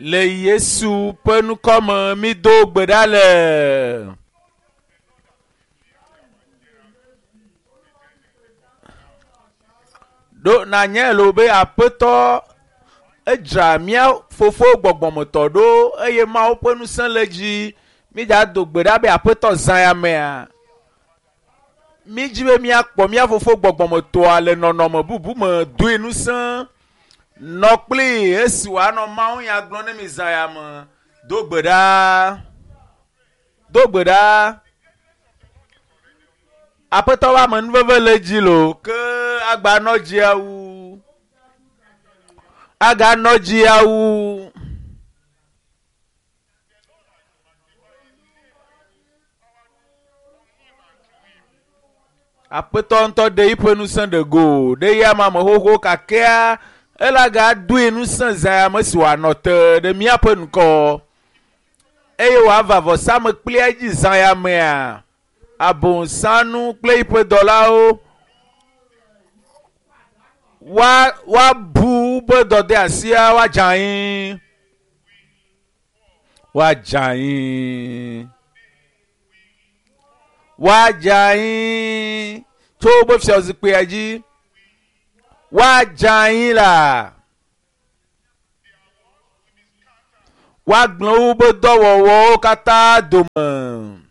Le Yesu ƒe ŋkɔ me mído gbe ɖa le. Ɖo nanye lo be aƒetɔ edzra mía fofo gbɔgbɔmetɔ ɖo eye Mawu ƒe ŋusẽ le edzi. Mídza do gbe ɖa be aƒetɔ zã ya mea. Mídzi be míakpɔ mía fofo gbɔgbɔmetɔa le nɔnɔme bubu me doe ŋusẽ nɔ kpli esi wòanɔ Mawu nya gblɔm ne mi zã ya me. Do gbe ɖa. Do gbe ɖa. Aƒetɔ ƒe amenuveve le edzi loo ke agbanɔ dzia wu. Aganɔ dzia wu. Aƒetɔ ŋutɔ ɖe yiƒe ŋusẽ ɖe go ɖe ya ma me xoxo kakea ele agadoe ŋusẽ zã ya me si wòanɔ te ɖe míaƒe ŋkɔ eye wòava vɔsamekplia dzi zã ya mea abosanu kple yiƒe dɔlawo woa woabu woƒe dɔdeasia woadze anyi woadze anyi woadze anyi tso woƒe fiazikpuia dzi woadze anyi la woagblẽ woƒe dɔwɔwɔwo katã dome.